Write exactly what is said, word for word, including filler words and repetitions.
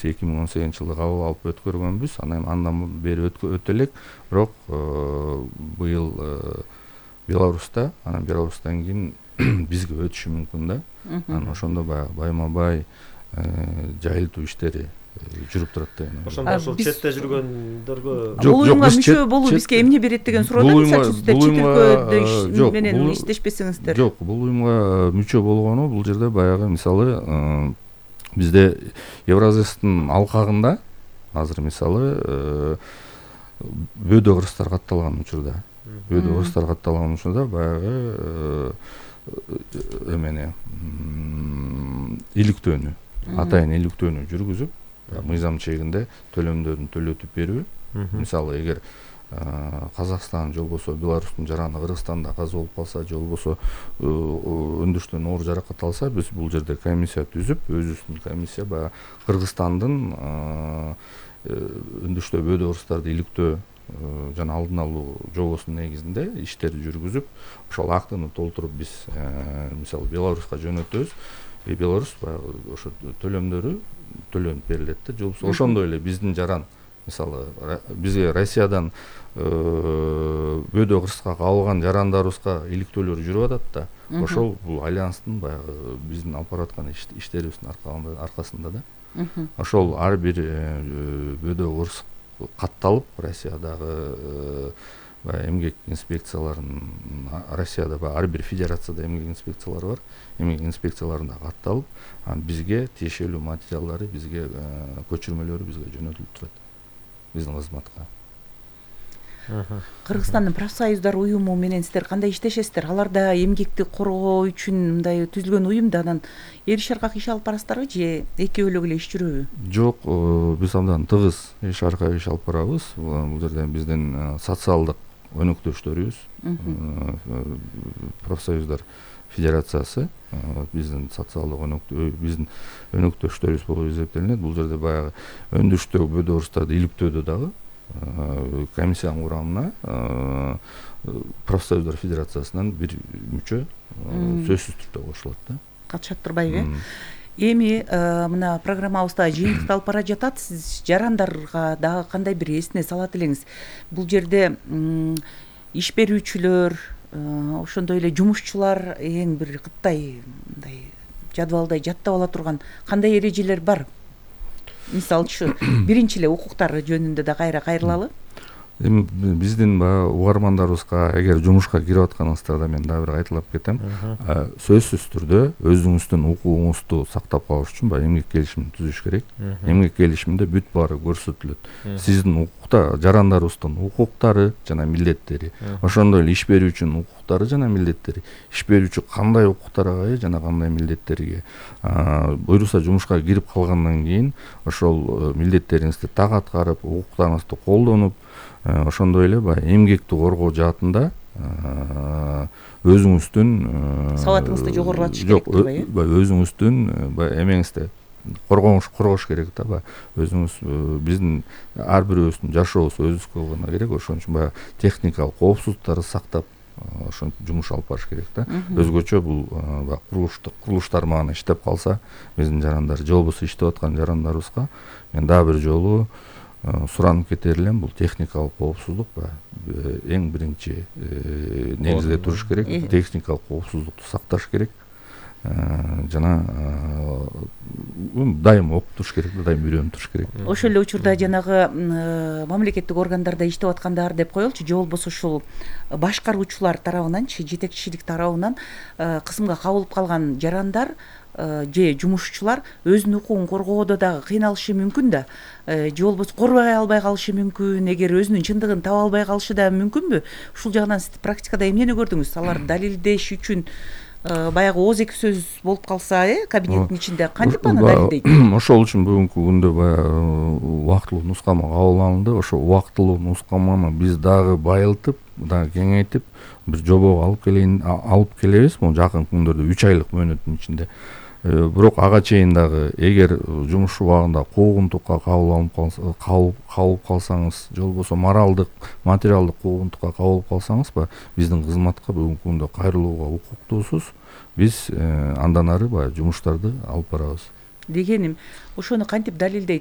биз эки миң он сегизинчи жылы кабыл алып өткөргөнбүз. Анан андан бери өтө элек, бирок быйыл Беларуста, анан Беларустан кийин бизге өтүшү мүмкүн да. Анан ошондо баягы байма бай жайылтуу иштери жүрүп турат да. Ошондо ошол четте жүргөндөргө бул уюмга мүчө болуу бизге эмне берет деген суроода, мисалы сиздер чет өлкөдө менен иштешпесеңиздер. Жок, бул уюмга мүчө болгону бул жерде баягы мисалы бизде Евразэстин алкагында азыр мисалы бөөдө кыргыздар катталган учурда, бөөдө кыргыздар катталган учурда баягы эмени иликтөөнү, атайын иликтөөнү жүргүзүп, мыйзам чегинде төлөмдөрүн төлөтүп берүү. Мисалы эгер Казакстан же болбосо Беларустун жараны Кыргызстанда каза болуп калса, же болбосо өндүрүштөн оор жаракат алса, биз бул жерде комиссия түзүп, өзүбүздүн комиссия баягы Кыргызстандын өндүрүштө бөөдө кыргыздарды иликтөө жана алдын алуу жобосунун негизинде иштерди жүргүзүп, ошол актыны толтуруп биз мисалы Беларуска жөнөтөбүз. И Беларусь баягы ошо төлөмдөрү төлөнүп берилет да. Же болбосо ошондой эле биздин жаран мисалы бизге Россиядан бөөдө кыргызга кабылган жарандарыбызга иликтөөлөр жүрүп атат да. Ошол бул альянстын баягы биздин алып бараткан иштерибиздин аркасында да. Ошол ар бир бөөдө кыргыз катталып, Россиядагы эмгек инспекцияларын, Россияда ар бир федерацияда эмгек инспекциялары бар, эмгек инспекцияларында катталып, бизге тиешелүү материалдары, бизге көчүрмөлөрү бизге жөнөтүлүп турат, биздин кызматка. Кыргызстандын профсоюздар уюму менен сиздер кандай иштешесиздер? Алар да эмгекти коргоо үчүн мындай түзүлгөн уюм да, анан эр шаркак иш алып барасыздарбы же экөөлүк эле иш жүрөбү? Жок, биз абдан тыгыз эр шаркак иш алып барабыз. Бул жерде биздин социалдык өнөктөштөрүбүз, профсоюздар федерациясы биздин социалдык өнөктөө биздин өнөктөштөрүбүз болуп эсептелинет. Бул жерде баягы өндүрүштөгү бөөдө кыргыздарды иликтөөдө дагы комиссиянын курамына профсоюздар федерациясынан бир мүчө сөзсүз түрдө кошулат да. Катышат турбайбы? Эми мына программабызда жыйынтыкталып бара жатат. Сиз жарандарга дагы кандай бир эсине салат элеңиз? Бул жерде иш берүүчүлөр, ошондой эле жумушчулар эң бир кыттай мындай жадвалдай жаттап ала турган кандай эрежелер бар? Мисалчы, биринчи эле укуктары жөнүндө да кайра кайрылалы. Эми биздин баягы угармандарыбызга эгер жумушка кирип атканыңыздарда мен дагы бир кайталап кетем. Сөзсүз түрдө өзүңүздүн укугуңузду сактап калыш үчүн баягы эмгек келишимин түзүш керек. Эмгек келишиминде бүт баары көрсөтүлөт. Сиздин укукта жарандарыбыздын укуктары жана милдеттери, ошондой эле иш берүүчүнүн укуктары жана милдеттери, иш берүүчү кандай укуктарга ээ жана кандай милдеттерге буйруса жумушка кирип калгандан кийин ошол милдеттериңизди так аткарып, укуктарыңызды колдонуп, ошондой эле баягы эмгекти коргоо жаатында өзүңүздүн сабатыңызды жогорулатыш керек турбайбы? Жок, өзүңүздүн баягы эмеңизди коргоош коргош керек да. Баягы өзүңүз биздин ар бирөөбүздүн жашообуз өзүбүзгө гана керек. Ошон үчүн баягы техникалык коопсуздуктарды сактап ошон жумуш алып барыш керек да. Өзгөчө бул курулуштук курулуштар мага иштеп калса, биздин жарандар же болбосо иштеп аткан жарандарыбызга мен дагы бир жолу суранып кетер элем, бул техникалык коопсуздук эң биринчи негизде туруш керек. Техникалык коопсуздукту сакташ керек. Жана дайым окуп туруш керек, дайым үйрөнүп туруш керек. Ошол эле учурда жанагы мамлекеттик органдарда иштеп аткандар деп коелучу, же болбосо ушул башкаруучулар тарабынанчы, жетекчилик тарабынан кысымга кабылып калган жарандар же жумушчулар өзүнүн укугун коргоодо дагы кыйналышы мүмкүн да, же болбосо корбой албай калышы мүмкүн, эгер өзүнүн чындыгын таба албай калышы да мүмкүнбү? Ушул жагынан сиз практикада эмнени көрдүңүз? Алар далилдеш үчүн баягы ооз эки сөз болуп калса, э, кабинеттин ичинде кантип аны далилдейт? Ошол үчүн бүгүнкү күндө баягы убактылуу нускама кабыл алынды. Ошо убактылуу нускаманы биз дагы байылтып, дагы кеңейтип, бир жобого алып келейин алып келебиз. Бул жакын күндөрдө үч айлык мөөнөттүн ичинде. Бирок ага чейин дагы эгер жумуш убагында куугунтукка кабыл алып калып калсаңыз, же болбосо моралдык, материалдык куугунтукка кабылып калсаңыз, биздин кызматка бүгүнкү күндө кайрылууга укуктуусуз. Биз андан ары баягы жумуштарды алып барабыз. Дегеним, ошону кантип далилдейт?